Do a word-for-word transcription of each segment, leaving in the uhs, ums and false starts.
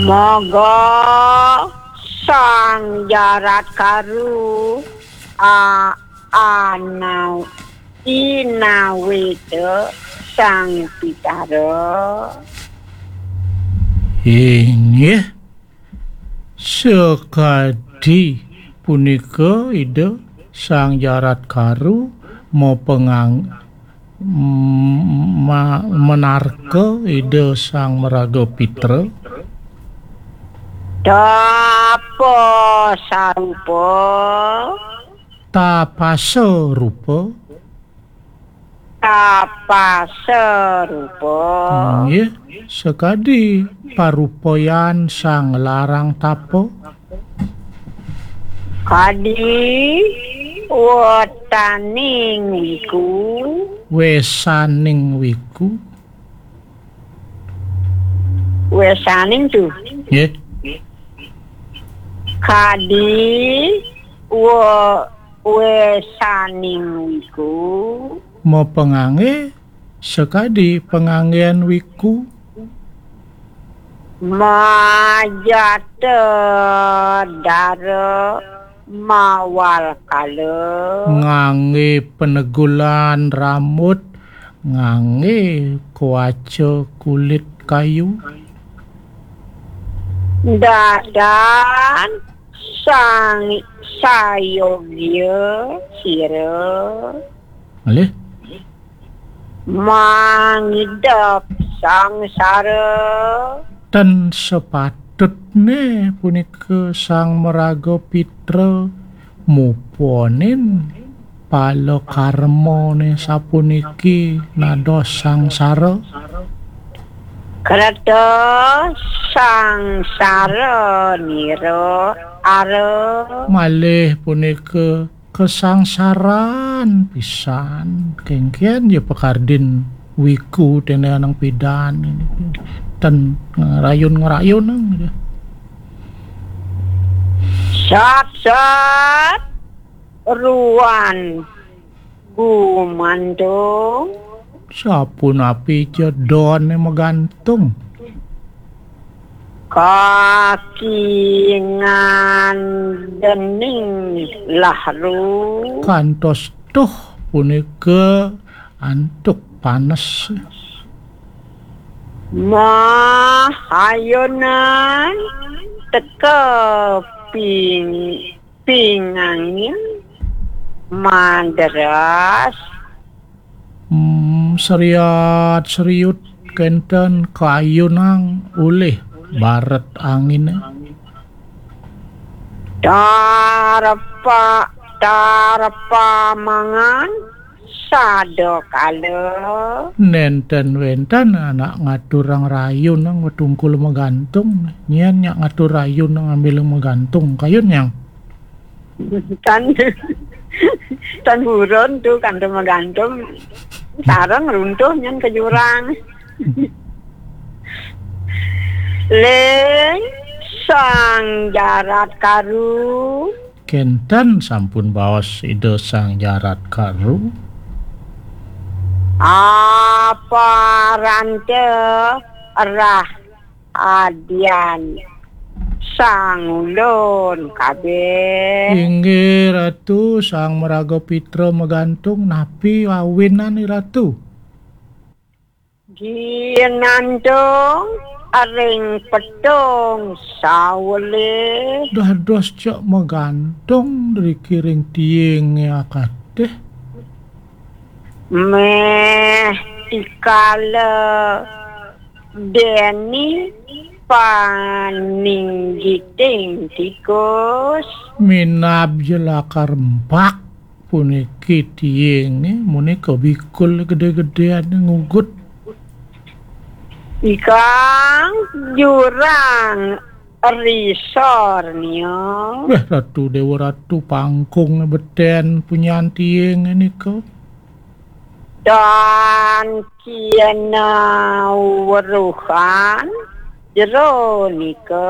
Moga Sang Jarat Karu a anau inawita Sang Pitara. Inggih, sekadi punika Ida Sang Jarat Karu mapengang- ma- menarka Ida Sang Maraga Pitra. Tapa sarupa. Tapasa rupa. Tapasa rupa. Nggih, sekadi parupayan Sang Larang Tapa. Kadi wetaning wiku. Wesaning wiku. Wesaning tu. Nggih. Kadi we- wesaning wiku. Mapangangge sakadi panganggen wiku. Majata dara mawal kala. Ngangge penegulan rambut, ngangge kuaca kulit kayu. Dadan sang sayogya sira. Nggih. Mangidep sangsara. Ten sepatutne punika Sang Maraga Pitra muponin pala karmane sapuniki nados sangsara. Kreta sangsara nira ara. Malih punika kasangsaran pisan. Kengken ya pakardin wiku tene anang pidan ini. Ten ngerayun-ngerayun nang. Sat-sat ruan gumantung. Sapunapi ja done magantung. Kakingan dening lahru. Kantos tuh punika antuk panes. Mahayunan teka ping pingangin madras. Hmm, seriat seriut kenten kayunang ulih baret angine. Tarpa tarpa mangan sada kala. Nenten wenten anak ngaturang rayun nang wetungkul magantung. Nyen nyak ngatur rayun nang ambil magantung kayun yang. Tan tan buron tu kanto magantung. Sarang runtuh nyen ke jurang. Leng sang jarat karu. Kenten sampun baos Ida Sang Jarat Karu. Aparante rah adian sang ulun kabeh. Inggih Ratu, Sang Maraga Pitra magantung, napi awinan Ratu? Ginantung ring petung sawele. Dados cek magantung driki ring tiing akateh. Meh tikala deni paninggiting tikus. Minab jelakar empak. Puniki tiing, eh, munika bikul gede-gedean ngugut. Ikang jurang risor nia. Weh, Ratu Dewa Ratu, pangkung beten punyan tiing nika. Dan kiana weruhan jero nika.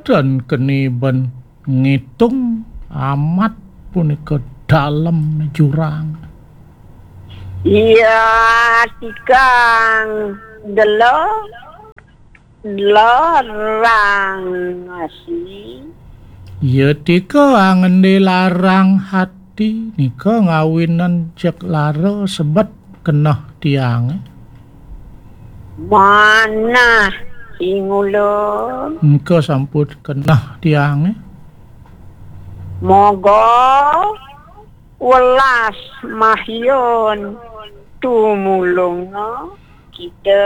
Dan keni ben ngitung amat punika dalem jurang. Iya tikang gelo. larang si. Ya tika angendi larang hati nika ngawinang jeg lara sebet keneh tiange. Manah singulun. Engka sampun keneh tiange. Moga welas mahyun tumulunga kita.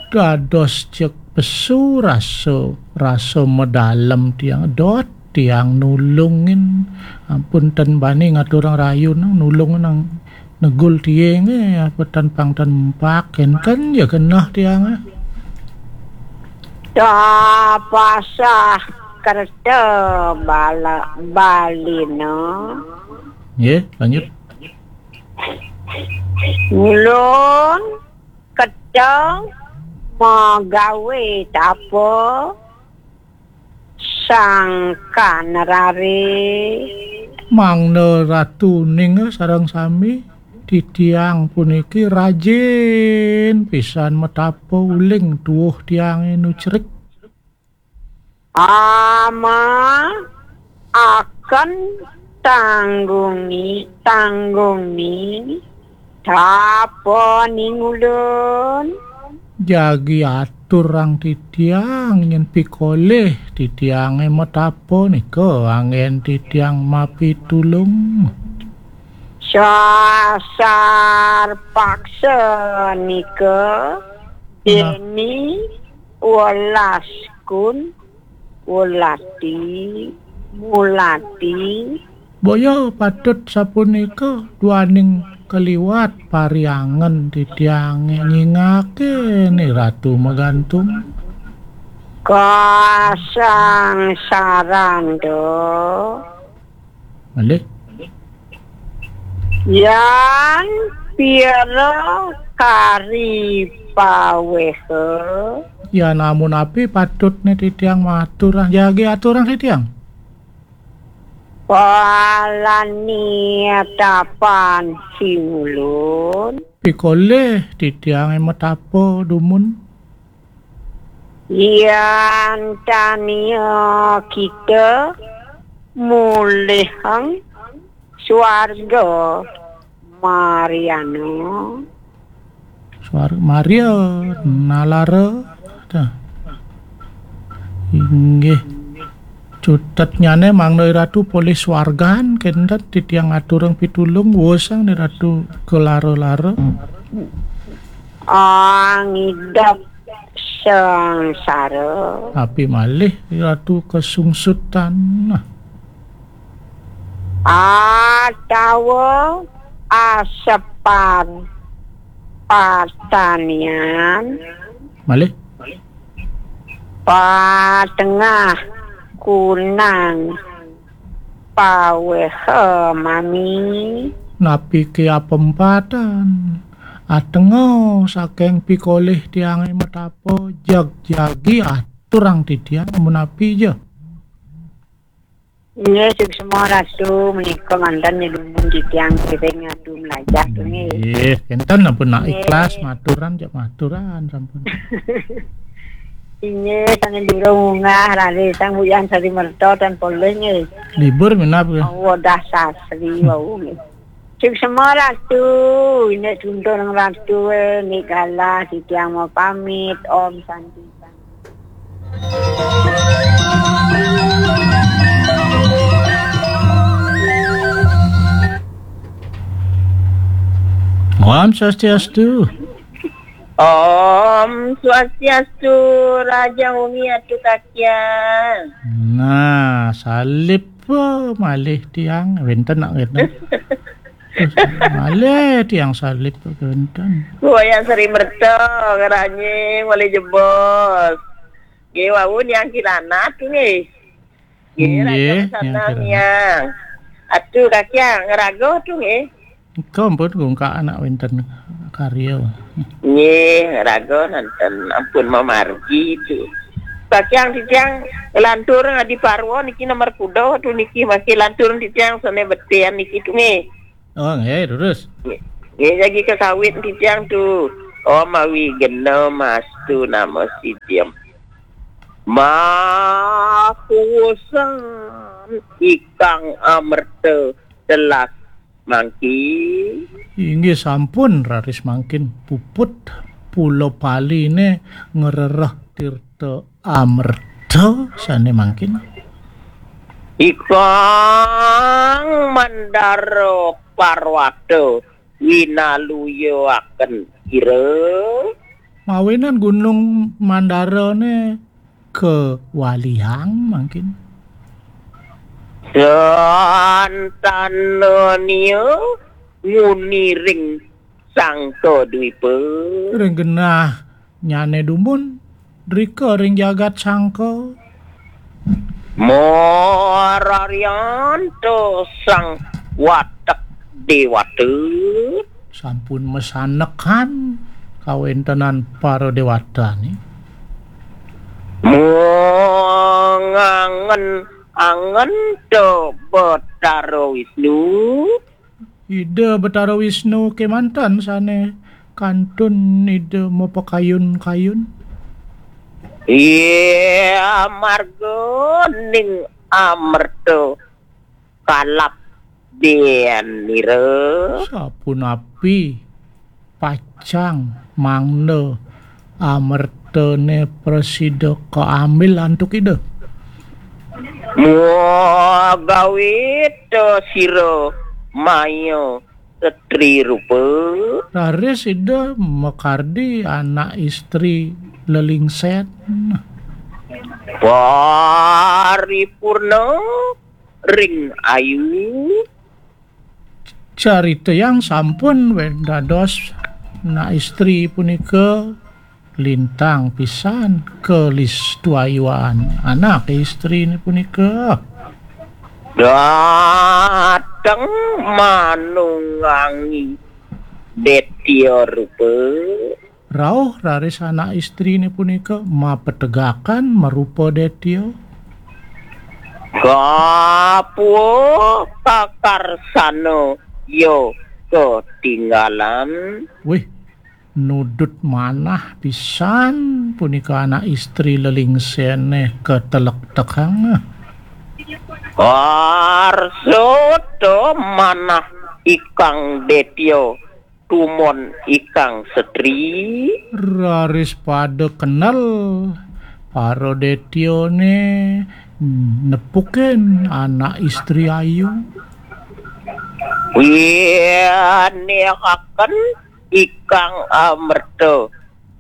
Dados jeg pesu rasa, rasa medalem tiang, dot tiang nulungin. Ampun ten bani ngaturang rayunan, nulungin nang negul tiange, apa tan pang tan empak, enten ya keneh tiange. Tapasah kerta bala balina. Nggih, lanjut. Ulun keteng magawe tapa sangkan rare. Mangda Ratu ning sareng sami titiang puniki rajin pisan metapa uling tuwuh tiange nucrik. Ama akan tanggungi, tanggungi, tapa ning ulun. Jagi aturang titiang nyen pikolih titiange metapa nika anggen titiang mapitulung. Sasar paksa nika. Nah. Deni welas kun Wulati, Mulati. Boya patut sapunika duaning kaliwat pariangen titiange nyingake ni Ratu Magantung. Kasangsaran do. Malih. Yan piara kari paweha. Yan amun api patutne titiang maturang, jagi aturang titiang. Palani tapan singulun. Pikolih titiange matapa dumun. Yan tania kita mulihang swarga Mariana. Swarga Maria nalara. Tah. Inggih. Cutetnyane mangda Ratu polih swargan, kenten titiang aturang pitulung, wosang ni Ratu kelara-lara. Angidep sangsara. Api malih Ratu kesungsutan. Nah. Atawa asepan patanian. Malih. Patengah kunang paweha mami. Napi ke apempatan? Atenga saking pikolih tiange matapa, jagjagi aturang titiang menapi ja. Inggih, suksma Ratu, menika manten nyelungun titiang kiring adu melajah tu nggih. Nggih, kenten ampun nak ikhlas maturan, jak maturan sampun. Inggih, sane durung munggah, rare sang buyan sari merta tan polih nggih. Libur minap nggih. Awa dah sasri wau nggih. Suksma Ratu, nek tuntung Ratu, eh, nek galah titiang mau pamit, Om Santi. Om Swastiastu. Om Swastiastu, Raja Umi Atu Kakian. Nah, salib, eh, malih tiang, wenten nak wenten. Malih tiang salib wenten. Wayah Sri Merta, ngeranying, malih jebos. Nggih, wau niang Kiranat nggih. Nggih, Raja Nggih, Pesana niang Kiranat. Niang. Atu Kakiang, ngeraga tu nggih. Engko ampun gungka anak wenten karya. Nggih, raga nanten ampun mamargi tu. Kakiang titiang lantur ngadi parwa niki nomor kuda tu niki masih lantur titiang sane betian niki tu nggih. Oh, nggih, terus. Nggih, nggih, jagi kesawit titiang tu. Om Awi Gena Mastu Nama Sidim. Makuwusan ikang amerta telas mangkin. Inggih sampun, raris mangkin puput pulo paline ngrereh tirta amerta sane mangkin. Ikang Mandara Parwata winaluyaken ira. Mawinan Gunung Mandarane kewaliang mangkin. Santanania nguni ring Sangka Dwipa. Ring genah nyane dumun, drika ring jagat Sangka. Mararianto sang watek dewata. Sampun masanekan kawentenan para dewatane. Mangangen-angen to Betara Wisnu. Ida Betara Wisnu kemanten sane kantun Ida mapakayun-kayun. Iya, marga ning amerta kalap denira. Sapunapi pacang mangda amertane prasida kaambil antuk Ida? Muagawe to sira maya setri rupa. Raris Ida makardi anak istri lelingsen. Paripurna ring ayu. Carita yang sampun wen dados anak istri punika lintang pisan kalistu ayuan anak istri punika. Dateng manungangi detya rupa. Rauh raris anak istrine punika mapetegakan marupa detya. Kapua kakarsana ya ketinggalan. Wih, nudut manah pisan punika anak istri lelingsene ketelektekang. Arsa to manah ikang detya tumon ikang setri. Raris pada kenal para detyane nepukin anak istri ayu. Winehaken ikang amerta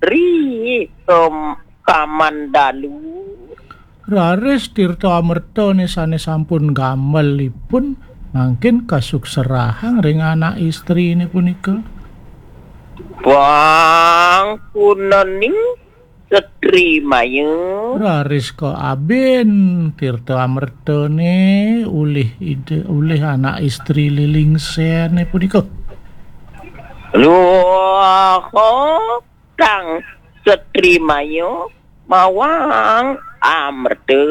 ri kem-, kamandalu. Raris tirta amertane sane sampun gamelipun mangkin kasukserahang ring anak istrine punika. Pangkunening setri maya. Raris kaabin tirta amertane ulih ide, ulih anak istri lelingsene punika. Luha kang setri maya mawang amerta.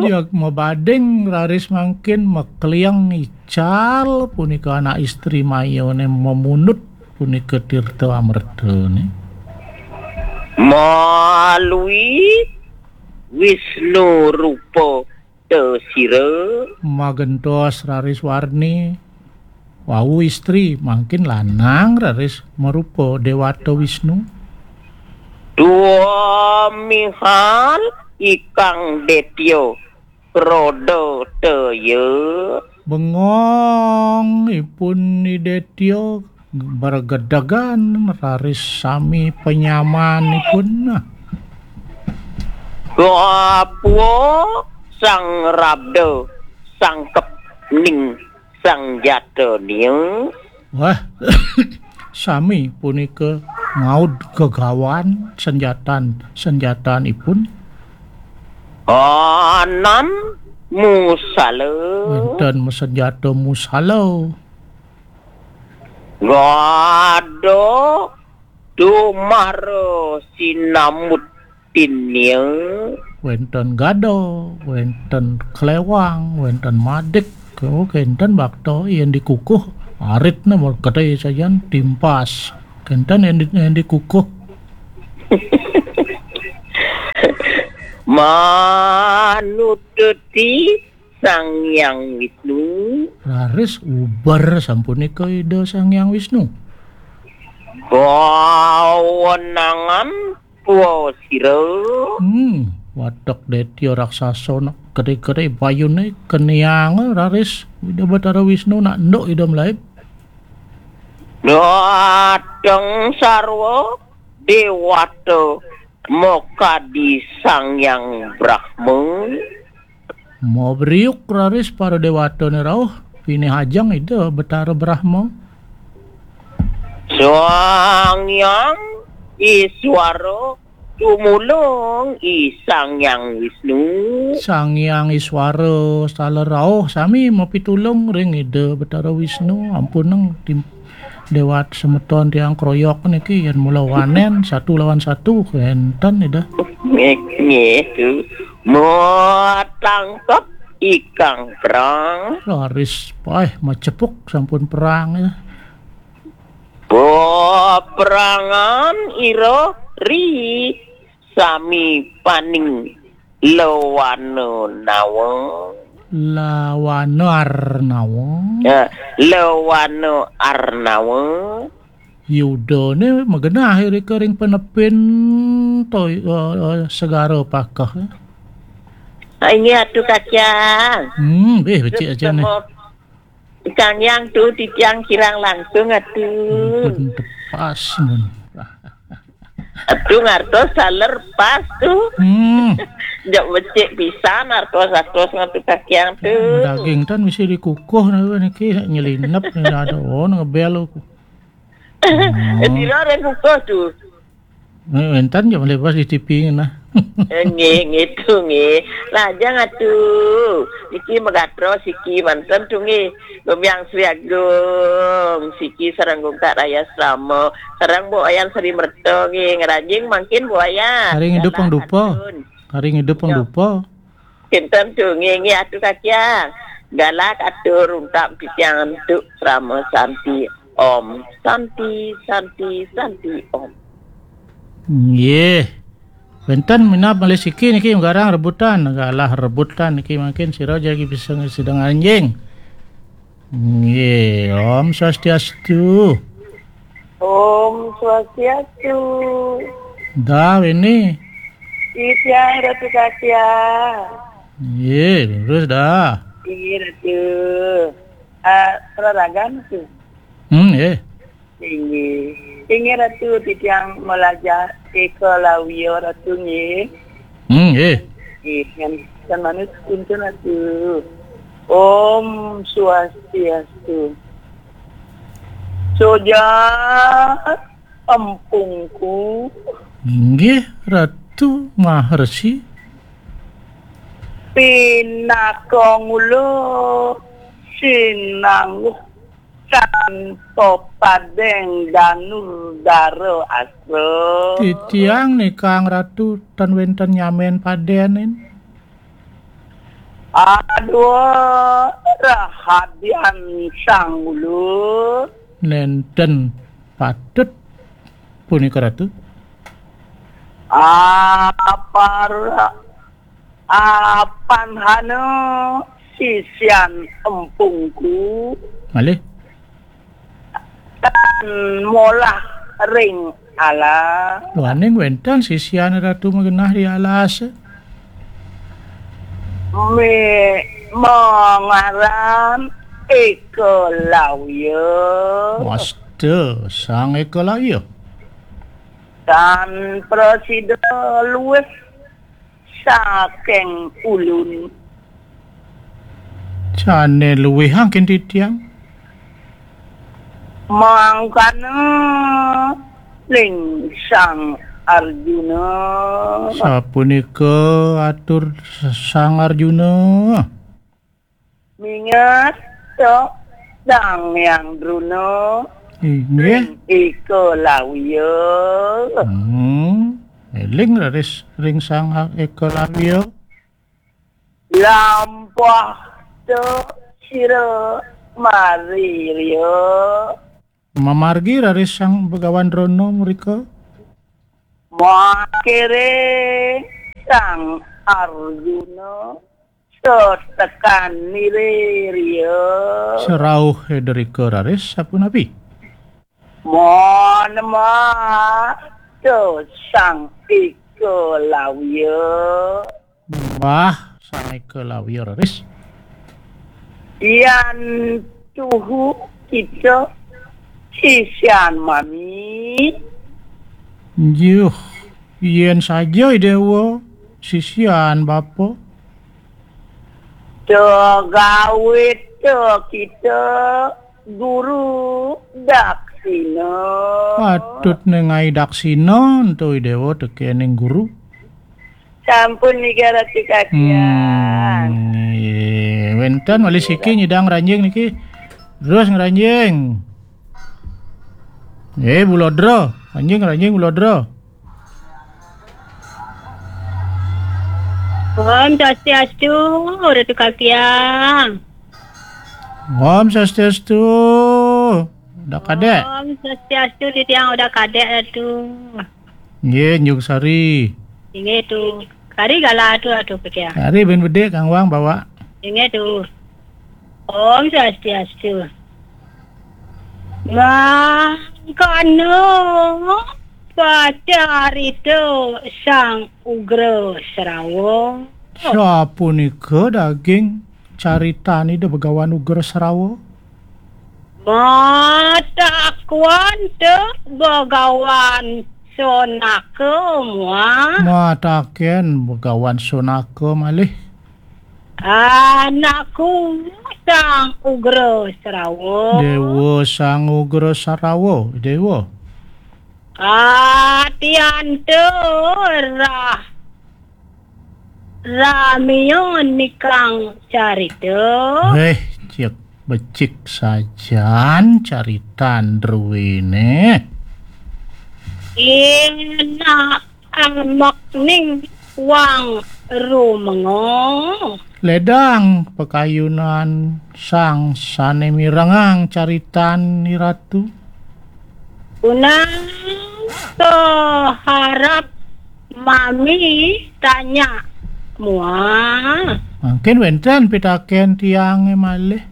Ya, mabading raris mangkin makliang ical punika anak istri mayane mamunut punika tirta amertane. Malui Wisnu rupa tesira. Magentos raris warni wau istri, mangkin lanang raris marupa Dewata Wisnu. Tuamihal ikang detya kroda teya. Bengong ipun Ni Detya bergedegan raris sami penyamanipun. Kapua sang rabda sangkep ning sang jatania. Wah, sami punika ngaud gegawan senjatan-senjatanipun. Anan musala. Wenten masenjata musala. Gada dumara sinamut tinia. Wenten gada, wenten klewang, wenten madik. Oh, kenten bakta yen dikukuh, aritne mul gede sajan timpas. Kenten yen di-, yen dikukuh. Manututi Sang Hyang Wisnu. Raris ubar sampunika Ida Sang Hyang Wisnu. Kawenangan puwa sira. Hmm, watek detya raksasa nak gede-gede bayune keniang raris Ida Batara Wisnu nak nduk Ida mlaib. Dateng sarwa dewata mokadi Sang Hyang Brahma. Mabriuk raris para dewatane rauh, pinih ajeng Ida Betara Brahma. Sang Hyang Iswara tumulung I Sang Hyang Wisnu. Sang Hyang Iswara sala rauh sami mapitulung ring Ida Betara Wisnu. Ampun nang tim-, dewat semeton tiang kroyok niki yen mula wanen satu lawan satu kenten Ida. Nggih, nggih, tu. Matangkep ikang perang. Raris paih macepuk sampun perang ya. Peperangan ira ri sami paning lawana nawa. Lawana arnawa. Ya, lawana arnawa. Yudane magenah irika ring penepin to, eh, eh, segara pakeh. Ah, inggih atu Kakang. Hmm, beh, becik aja nih. Sama Kang Yang tu titiang kirang langkung atu. Ampun tepas mun. Atu ngartos saler pas tu. Hmm. Jak becik pisan artos-artos ngatu Kakang tu. Daging tan mesti dikukuh niki nyelinep nih ada oh ngebel. Oh. Sira ada kukuh tu. Eh, wenten ya melepas di T V ngena. Eh, nggih, nggih tu nggih. Lajeng atu. Niki megatro siki manten tu nggih. Gombyang Sri Agung, siki sareng Gungkak Raya Srama, sareng Bu Wayan Sri Merta nggih, ngranjing mangkin Bu Wayan. Hari ngidup pang dupa. Hari ngidup pang dupa. Kinten tu nggih, nggih atu Kakang. Galak atur untak titiang antuk Srama Santi. Om Santi, Santi, Santi, Om. Nggih. Wenten minab malih siki niki garang rebutan, galah rebutan niki mangkin sira jagi bisa sida ngranjing. Nggih, Om Swastiastu. Om Swastiastu. Dah ini. Titiang Ratu Kasia. Nggih, terus dah. Nggih, Ratu. Ah, raragan tu. Hmm, nggih. Inggih. Inggih Ratu, titiang malajah Eka Lawia Ratu nggih. Hmm, nggih. Nggih, kan, kan manut kuntun Ratu. Om Swastiastu. Soja empungku. Inggih Ratu Maharsi. Pinaka ngula sinangguh tanpa padeng danur dara asra. Titiang nikang Ratu tan wenten nyamen padenin. Aduh, rahadian sang ulun. Nenten patut punika Ratu. Apara apanhana sisian empungku. Malih. Tan molah ring alas. Duaning wenten sisian Ratu magenah di alas. Me-, mangaran Eka Lawya. Wasta Sang Eka Lawya. Tan prasida luwih saking ulun. Jane luwih angkin titiang. Mangkana ling Sang Arjuna. Sapunika atur Sang Arjuna. Mingat tok Sang Hyang Druna. Inggih. Ring Eka Lawya. Hmm. Eling raris ring Sang Eka Lawya. Lampah tok sira mari riya. Mamargi raris Sang Begawan Drona mrika. Makere Sang Arjuna, setekan niriria. Serauh Ida Rika raris sapunapi? Mon ma, to Sang Eka Lawya. Mbah Sang Eka Lawya raris. Yan tuhu kita sisian mami. Njuh, yen saja Dewa sisian bapa. Tegawe te kita guru daksina. Patut nengai daksina ento Dewa tekening guru. Sampun niga ratu kakian. Hmm, iya. Wenten malih siki nyidang ranjing niki. Terus ngranjing. Eh, bulodra. Ranjing, ranjing, bulodra. Om Swastiastu, Ratu Kakiang. Om Swastiastu. Udah kadek. Om Swastiastu, titiang udah kadek, Ratu. Nggih, Nyuk Sari. Inggih, Tu. Kari galah, Tu, Ratu Kakiang. Kari ben bedik, Kang Wang bawa. Inggih, Tu. Om Swastiastu. Mangkana pacarita Sang Ugra Srawa. Sapunika daging caritan Ida Begawan Ugra Srawa? Matakuan te Begawan Sonaka mua. Mataken Begawan Sonaka malih. Anakku Sang Ugra Srawa. Dewa Sang Ugra Srawa, Dewa. Atianta rah ramia nikang carita. Eh, cek becik sajan caritan druene. Enak amek ning wang rumenga. Ledang pakayunan sang sane mirengang caritan Ni Ratu. Unang keharap mami tanya mua. Mangkin wenten pitaken tiange malih.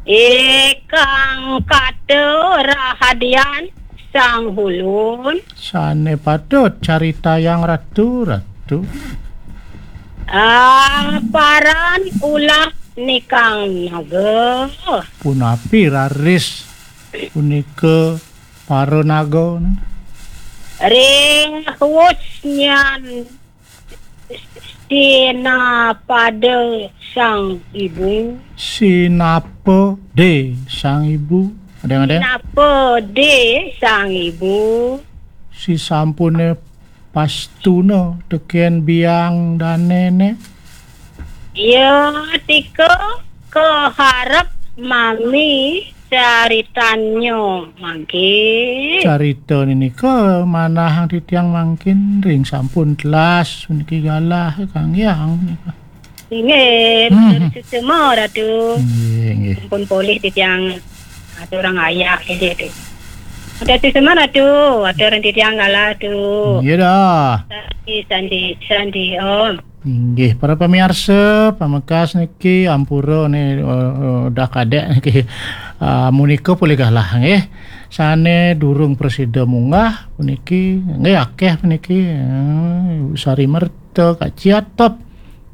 Ikang kata rahadian Sang Hulun. Sane patut caritayang Ratu, Ratu. Aparan ulah nikang naga. Punapi raris punika para naga? Ring wus nyan sinapada Sang Ibu. Sinapa de Sang Ibu? Adeng, adeng. Sinapa de Sang Ibu? Sisampune pastuna teken biang danene. Ya, tika keharap mami caritannya mangkin. Carita ninika manahang titiang mangkin ring sampun telas puniki galah Kang Hyang nika. Inggih, hmm, betul suksma, Ratu. Inggih, inggih. Sampun polih titiang aturang ayah, inggih, tu. Betul suksma, Ratu. Aturang titiang galah, tu. Iya dah. Sandi, sandi, sandi, Om. Inggih, para pamiarsa, pamekas niki ampura ne, eh, eh, udah kadek niki. Ah, munika polih galah nggih. Sane durung prasida munggah puniki, nggih akeh puniki. Eh, Ibu Sari Merta, Kak Ciatop,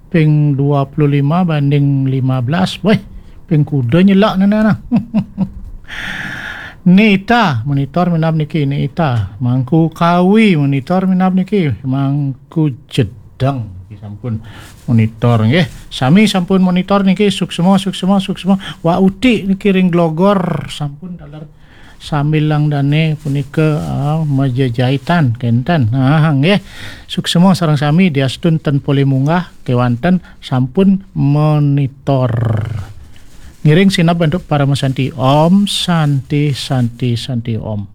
ping dua puluh lima banding lima belas. Weh, ping kuda nyelak nene nah. Nita, monitor minab niki, Nita. Mangku Kawi, monitor minab niki, Mangku Jedang. Niki sampun monitor nggih. Sami sampun monitor niki, suksma, suksma, suksma. Wa Uti niki ring Glogor sampun taler sambilang dane punika, ah, majejahitan kenten. Ah, nggih. Suksma sareng sami diastun ten polih munggah kewanten sampun monitor. Ngiring sineb antuk Parama Santi. Om Santi, Santi, Santi Om.